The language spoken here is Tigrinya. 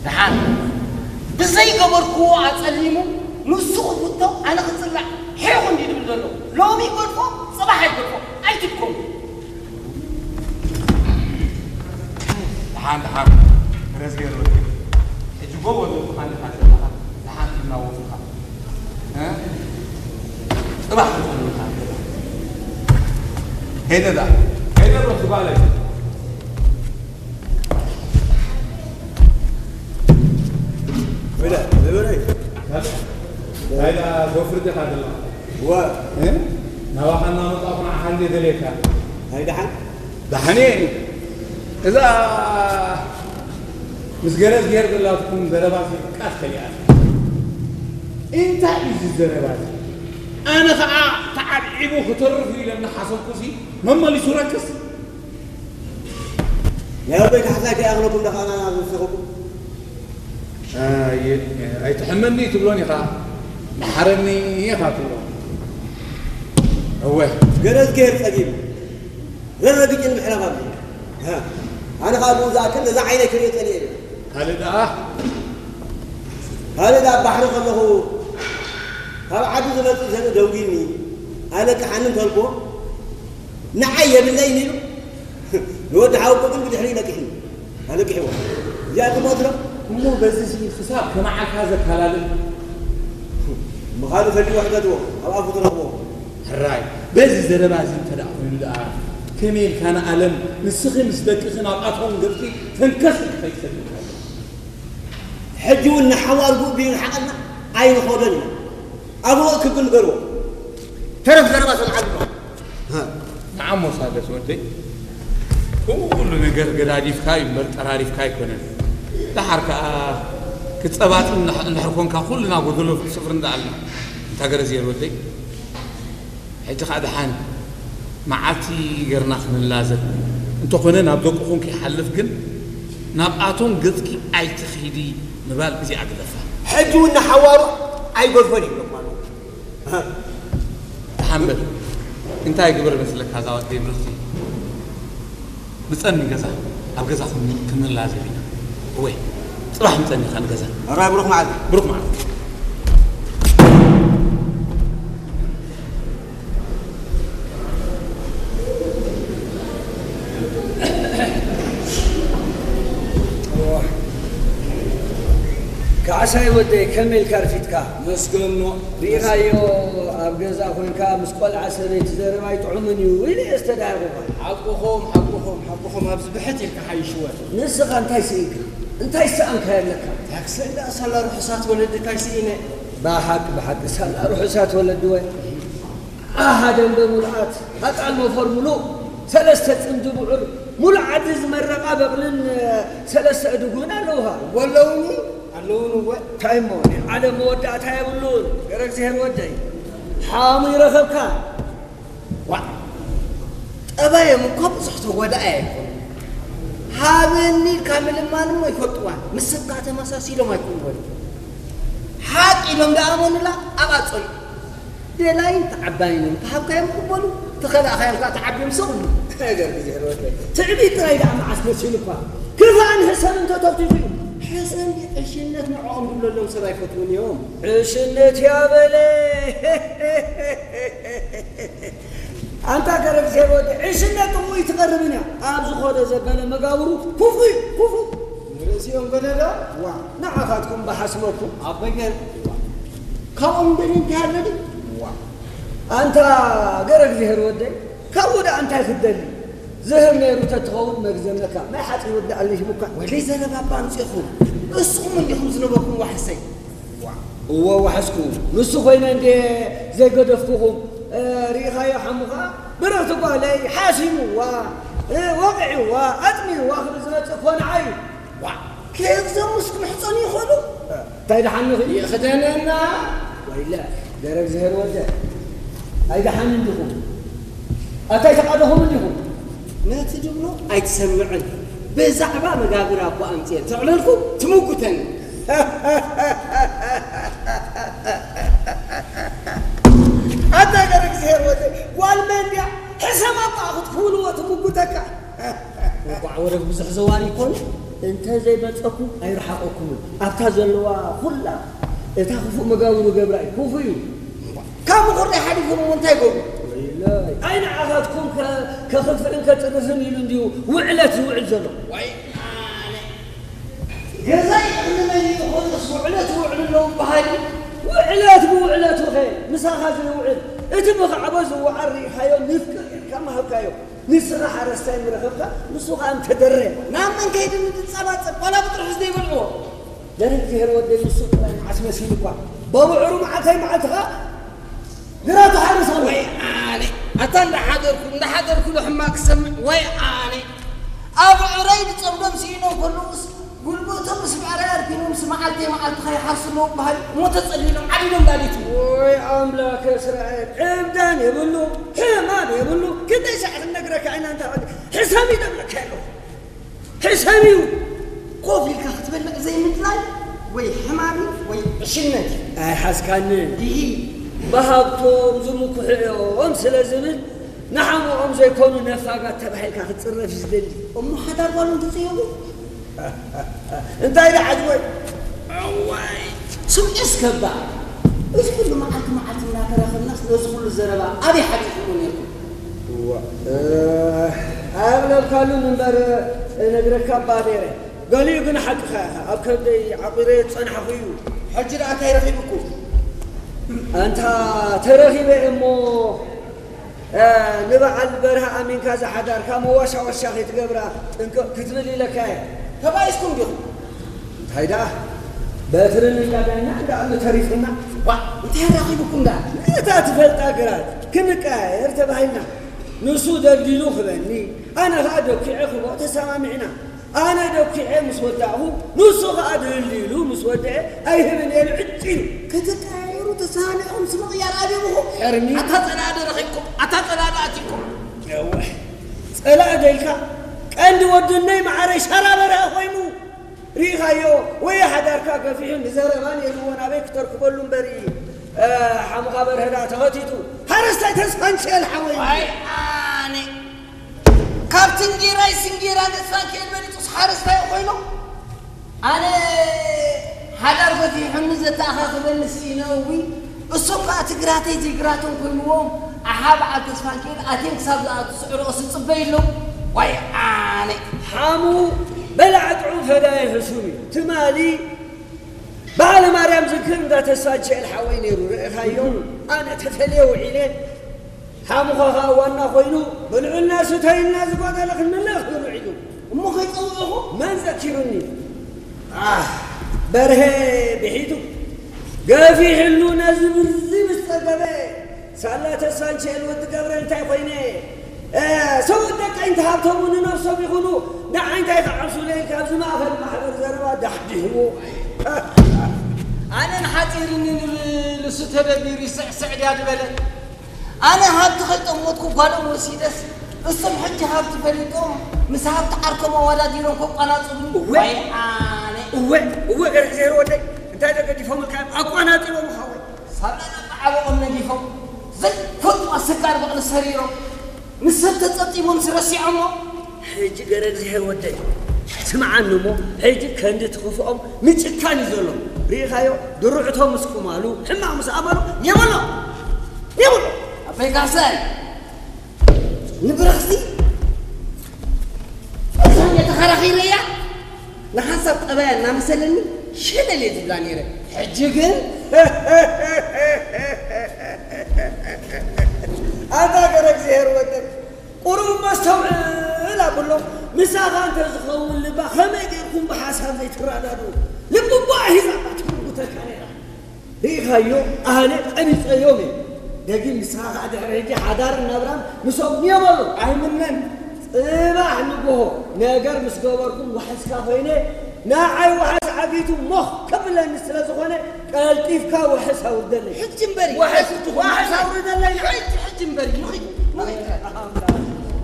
ደሓን ብዘይገበርክዎ ኣጸሊሙ ንሱ ክፍቶ ኣነ ክጽላእ ሒኹ እንዲ ድብል ዘሎ ሎሚ ይገድፎ ጽባሕ ኣይገድፎ ኣይትድከሙ። ደሓን ደሓን ረዝጌ ሮቲ ሕጂ ጎቦ ዘለኻ ኣለኻ ዘለኻ ደሓን እናወፍኻ ጽባሕ ክኾንልካ ሄደ ዳ ሄደ ሮቲ ጓለይ ወደ ነበረይ ናይዳ ጎፍር ዲኻ ዘለኻ ዋ ናባኻ እናመጣኹ ንዓኻ እንደ ደልየካ እንታይ ደሓን ደሓን እየ እዛ ምስ ገረዝጌር ዘላትኩም ዘረባ ቃስ ከሊኣት እንታይ እዩ እዚ ዘረባ እዚ ኣነ ከዓ ተዓብዒቡ ክተርፍ እዩ ኢለ እናሓሰብኩ ሲ መመሊሱ ረክስ ናይ ኣቦይ ካሕሳይ ከይኣኽለኩም ደኻና ናብ ዝወሰኸኩም ኣይትሕመኒ ትብሎን ኢኻ መሓረኒ ኢኻ ትብሎ እወ ገረዝጌር ጸጊቡ ረረግጭን ምሕላፍ ኣሎ ኣነ ከዓ ብኡ ዝኣክል ነዛ ዓይነይ ክሪኦ ጸኒኤ ካልእ ደኣ ካልእ ደኣ ባሕሪ ከለኹ ካብ ዓዲ ዝመፅእ ዘርኢ ደንጒኒ ኣለቅሓኒ እንተልኩዎ ንዓይ የብለይን ኢሉ ንወዲ ሓወቦ ግን ብድሕሪኡ ለቂሕኒ ኣለቂሕዎ እዚኣ ትሞት ዶ እሞ በዚ ክሳብ ከመዓልካ ዘካላልል ምኻኑ ፈሊዎ ሕተትዎ ኣብ ኣፉ ትረኽቦ ሕራይ በዚ ዘረባ እዚ እንተ ደኣ ኮይኑ ደኣ ከመይ ኢልካ ንኣለም ንስኺ ምስ ደቅኺ ናብ ኣቶም ገጽኪ ተንከስ ክትከይሰድካ ሕጂ እውን ንሓዋር ጉእ ቢሉ ሓቐልና ኣይንኸዶን ኢና ኣብኡ ክብል ንገርዎ ተረፍ ዘረባ ሰምዓሉ ነዓሞ ሳደስ ወደይ ኩሉ ነገር ገዳዲፍካ እዩ እምበር ጠራሪፍካ ኣይኮነን ደሓር ከዓ ክፀባጥን እንድሕር ኮንካ ኩልና ጎደሎ ስፍሪ እንዳኣልና እንታ ገረዝየር ወደይ ሕጂ ከዓ ደሓን መዓልቲ ገርና ክንላዘብ እንተኾነ ናብ ደቅኹም ከይሓልፍ ግን ናብኣቶም ገፅኪ ኣይትኺዲ ምባል እዚኣ ግደፋ ሕጂ እውን ንሓዋሩ ኣይገድፎን ይብለኩም ኣለኹ ደሓን በል እንታይ ግበር መስለካ እዛ ወደይ ብርኽቲ ምፀኒ ገዛ ኣብ ገዛ ክንላዘብ ኢና እወ ፅባሕ ምፀኒ ኢኻ ንገዛ ሕራይ ብሩኽ መዓልቲ ብሩኽ መዓልቲ ካሕሳይ ወደይ ከመይ ኢልካ ኣርፊድካ መስገኖ ርኢኻዮ ኣብ ገዛ ኮይንካ ምስ ቆልዓ ሰበይቲ ዘረባ ኣይጥዑምን እዩ ኢለ እየ ዝተዳሃርኩኻ ሓቅኹም ሓቅኹም ሓቅኹም ኣብዚ ብሕት ኢልካ ሓይሽወ ንስኻ እንታይ ስኢንካ እንታይ ዝሰኣንካዮ ኣለካ ታክሰ እንዳ ሳላ ርሑሳት ወለዲ እንታይ ስኢነ ብሓቂ ብሓቂ ሳላ ርሑሳት ወለዲ ወ ኣሃ ደንበ ሙሉኣት ኣጣል ሞፈር ሙሉእ ሰለስተ ፅምዲ ብዑር ሙሉእ ዓዲ ዝመረቓ በቕልን ሰለስተ እድጉን ኣለውሃ ወለውኒ ኣለውን እወ እንታይ እሞ ናይ ዓለም መወዳእታ የብሉን ገረ እግዚኣብሔር ወደይ ሓሙ ይረኸብካ ዋዕ ጠባዮም እኮ ብዙሕ ተጎዳኢ ኣይኮኑ ሃበኒ ኢልካ ምልማን እሞ ይፈልጥዋ ምስካ ተመሳሲሎም ኣይኮኑ ወዲ ሓቂ ኢሎም ደኣመኑላ ኣብኣ ጸንሑ ደላይን ተዓባይን እዮም ተሃብካዮም ክበሉ ተኸላእኻዮም ከዓ ተዓብዮም ሰቕ ነገር እግዚኣብሔር ወደይ ትዕቢት ጥራይ ደኣ መዓስ መሲሉ እኳ ክፋእን ሕሰምን ተተኽቲኹ እዩ ሕሰን ዕሽነት ንዕኦም ዝብለሎም ሰብ ኣይፈትውን እዮም ዕሽነት ያበለ ኣንታ ገረ እግዚኣብሔር ወዲ ዕሽነት ጥቕኡ ይትቐርብን እያ ኣብ ዝኾነ ዘበለ መጋብሩ ኩፉ እዩ ኩፉ ንርእሲኦም ገለ ዶ ዋ ንዓኻትኩም ብሓስበኩም ኣበገር ካብኦም ደሊ እንታይ ኣለኒ ዋ ኣንታ ገረ እግዚኣብሔር ወደይ ካብኡ ደኣ እንታይ ክትደሊ ዝህብ ነይሩ ተትኸውን መግዘመካ ናይ ሓፂን ወዲ ኣለሽሙካ ወደይ ዘረባ እባ ኣምፂኹም እስኹም እንዲኹም ዝነበርኩም ዋሕሰይ እወ ዋሕስኩ ንሱ ኮይነ እንዴ ዘይገደፍኩኹም ርኢኻዮ ሓሙኻ ብርኽቲ ጓለይ ሓሲምዋ ወቒዕዋ ኣጥሚዋ ክብል ዝመፅእ ኮንዓ እዩ ዋ ከየግዞም ምስ ክምሕፀኑ ይኽእሉ እንታይ ደሓንኺ ይኽደነና ወይለ ገረ እግዚኣብሔር ወደ ኣይደሓን እንዲኹም ኣታይ ተቃደኹም እንዲኹም ነቲ ድብሎ ኣይትሰምዕን ብዛዕባ መጋብር ኣቦ ኣምፅኤ ተዕለልኩ ትምጉተኒ ኣታ ገረ እግዚኣብሔር ወደ ጓል መን ድያ ሕሰብ ኣባ ክትክውንዎ ትምጉተካ እንኳዕ ወረግ ብዙሕ ዘዋሪ ይኮኑ እንተ ዘይመጸኩም ኣይረሓቐኩምን። ኣብታ ዘለዋ ኩላ እታ ክፉእ መጋብሩ ገብራ እዩ። ክፉእ እዩ። ካብ ምኹርዳይ ሓሊፉ እሞ እንታይ ገብሩ? ወይለይ። ኣይ ንዓኻትኩም ከ-፣ ከኽፍእን ከጽርፍን ኢሉ እንድዩ ውዕለት ዝውዕል ዘሎ። ወይ ኣነ። ገዛኢ ዕድመ ይኾንስ ውዕለት ውዕል ኣለዉ በሃሊ? ውዕለት ብውዕለቱ ኸ ምሳኻ ዘይውዕል? እቲ ብኻዕቦ ዝወዓል ርኢኻዮ፣ ንፍቅር ኢልካ ምሃብካዮ። ንስኻ ሓረስታይ ምረኸብካ፣ ንሱ ኸኣ እንተደረ። ናብ መን ከይዱ ንድጻባጸብ? ዋላ ብጥርሑ ዘይበልዕዎ? ደረግ ዝሄር ወደይ ንሱ ጥራይ መዓት መሲሉ እኳ። በብዕሩ መዓልታይ መዓልቲ ኸኣ ግራቱ ሓርስ ኣሎ። ወይ ኣነ፣ ኣታ እንዳሓደርኩ፣ እንዳሓደርኩ ዶ ሕማቅ ክሰምዕ? ወይ ኣነ፣ ኣብ ዕረይ ዝጸምዶም ስኢኖም ከለዉስ፣ ጉልበቶም ምስ ብዕራይ ኣርኪኖም፣ ምስ መዓልተይ መዓልቲ ከይሓርሱ ኣለዉ በሃሊ፣ እሞ ተጸሊሎም ዓዲዶም ዳሊቱ። ወይ ኣምላከ እስራኤል፣ ዕብዳን የብሉ፣ ሕማም የብሉ፣ ክንደይ ሻዕ ክንነግረካ ኢና፣ እንታ ሕሰም ይደብለካ ኣለኹ። ሕሰም እዩ። ኮፍ ኢልካ ክትበልዕ ዘይምድላይ ወይ ሕማም ወይ ዕሽነት እዩ። ኣይሓዝካንን። ይሂ። ብሃብቶም ዝምኩሑ እዮም ስለ ዝብል፣ ንሓሞኦም ዘይኮኑ ነፋጋት ተባሂልካ ክትጽረፍ እዩ ዝደሊ። እሞ ሓዳር ጓሎም ትጽየፉ? እንታይ ደኣ ዓጅቦይ? እዋይ፣ ስምዒ እስከባ። እዚ ኩሉ መዓልቲ መዓልቲ እናተራኸብናስ ነዚ ኩሉ ዘረባ ኣበይ ሓቢእኩሞ ነይርኩም? እዋ፣ እ፣ ኣየቕለልካሉን እምበር እነግረካ እባ ነይረ። ገሊኡ ግን ሓቅኻ ኢኻ። ኣብ ከብደይ ዓቑረ ዝጸናሕኹ እዩ። ሕጂ ደኣ እንታይ ረኺብኩም? ኣንታ ተረኺበ እሞ፣ እ፣ ንበዓል በርሀ ኣሚንካ ዝሓዳርካ መዋሻወሻ ከይትገብራ ጥንቅቕ ክትብል ኢለካ እየ። ተባኢስኩም ዲኹም? እንታይ ደኣ፣ በትርን እንዳ ዳኛ እንዳ እምኒ ተሪፉና። ዋ፣ እንታይ ረኺብኩም ደኣ? ነታ ትፈልጣ ግራት ክንቀያየር ተባሂልና። ንሱ ደልዲሉ ክበኒ፣ ኣነ ኸኣ ደኪዐ ክቦ ተሰማሚዕና። ኣነ ደኪዐ ምስ ወዳእኹ፣ ንሱ ኸኣ ደልዲሉ ምስ ወደአ ኣይህብን እየ ንዕጭ ኢሉ። ክትቀያየሩ ተሰማሚዕኩም ስም ምቕያር ኣቢኹም? ሕርሚ። ኣታ ጸላኢ ዶ ረኺብኩም? ኣታ ጸላኢ ዶ ኣትይኩም? ነውሕ። ጸላኢ ደልካ ቀንዲ ወድነይ መዓረይ ሻራ በርሀ ኮይኑ። ርኢኻዮ ወይ ሓዳርካ ገፊሑ ንዘረባን የልዎን ኣበይ ክተርክበሉ እምበር፣ እ፣ ሓሙኻ በርሀ ደኣ ተኸቲቱ። ሓረስታይ ተስፋንቸል ሓወይ። ኣይ ኣነ ካብ ትንጊራይ ስንጊራ ንፋንኬል በሊጡስ ሓረስታይ ኮይኖ? ኣነ ሓዳር ገፊሑኒ ዘተኣኻኽበኒ ስኢነ እዊ። እሶም ከኣ ትግራተይ ዘይግራቶም ኮይንዎም ኣሓ በዓል ተስፋንኬል ኣትዮም ክሳብ ዝኣቱ ስዕርኦስ ዝጽበዩ ኣለዉ። ዋይ ኣነ። ሓሙ በላዕ ጥዑም ፈዳይ ሕሱም እዩ። ትማሊ በዓለ ማርያም ዝክር እንዳ ተስፋንቸል ሓወይ ነይሩ ርኢኻዮ። ኣነ ተፈልየ ውዒለ። ሓሙኻ ኸኣ ዋና ኮይኑ፣ ብልዑልና ስተዩልና ዝጎደለ ክንምልእ ክብል ውዒሉ። እሞ ከይጸውዕኹ? መን ዘኪሩኒ? ኣህ፣ በርሄ ብሒቱ ገፊሕሉ ነዚ ብርዚ ምስ ጸገበ፣ ሳላ ተስፋንቸል ወዲ ገብረ እንታይ ኮይነ? እ፣ ሰብኡት ደቀይንቲ ሃብቶሙ ንነብሶም ይኹኑ፣ ንዓይ እንታይ ክዓብሱለይ ኢልካ ኣብዚ ማእኸል ማሕበር ዘረባ ዳሕዲሕዎ። ኣነ ንሓጺርኒ ንብል እሱ ተደቢሩ ይስዕስዕ ድያ ዝበለ። ኣነ ሃብቲ ከይጠመትኩ ጓሎም ወሲደስ፣ እሶም ሕጂ ሃብቲ ፈሊጦም ምስ ሃብቲ ዓርኮም ኣወዳዲሮም ከቋናጽቡኒ። እወ። ወይ ኣነ። እወ፣ እወ፣ ገርግዜር ወደይ፣ እንታይ ተገዲፎምልካ እዮም? ኣቋናጺቦምኻ ወይ? ሳላ ዓበኦም ነጊፎም፣ ዘይፈልጡ ኣሰጋር በቕሊ ሰሪሮም፣ ንሰብ ተጸብጢቦምስ ረሲዖሞ። ሕጂ ገረግዝሄር ወደይ፣ ስምዓኒ እሞ፣ ሕጂ ከንዲ እቲ ክፍኦም ምጭካን እዩ ዘሎ። ርኢኻዮ? ድሩዕቶ ምስ ቁማሉ፣ ሕማቕ ምስ ኣመሉ፣ የበሎ! የበሎ! ኣቦይ ካሕሳይ፣ ንብረኽሲ እዛን እየ ተኸራኺረያ። ንሓንሳብ ጠባያ እናመሰለኒ ሸለል እየ ዝብላ ነይረ። ሕጂ ግን ኣታ ገረግዝሄር ወደይ፣ ቁሩብ መስተውዕል ኣብሎ። ምሳኻ እንተ ዝኸውን ልባ ከመይ ጌርኩም ብሓሳብ ዘይትረዳድኡ? ልቢ እባ ሒዛ እባ ትጉተካ ነይራ። ርኢኻዮ? ኣነ ቀቢጸዮም እየ። ደጊም ንስኻ ኸኣ ድሕሪ ሕጂ ሓዳርን ናብራን ምስኦም ንየበሉ። ኣይምነን። ጽባሕ ንግሆ ነገር ምስ ገበርኩም ዋሕስካ ኮይነ፣ ንዓይ ዋሕስ ዓጊቱ ሞኽ ከብለኒ ስለ ዝኾነ፣ ቀልጢፍካ ዋሕስ ኣውርደለይ። ሕጂ እምበሪ። ዋሕስ፣ ዋሕስ ኣውርደለይ። ሕጂ፣ ሕጂ እምበሪ። ንኺድ፣ ንኺድ።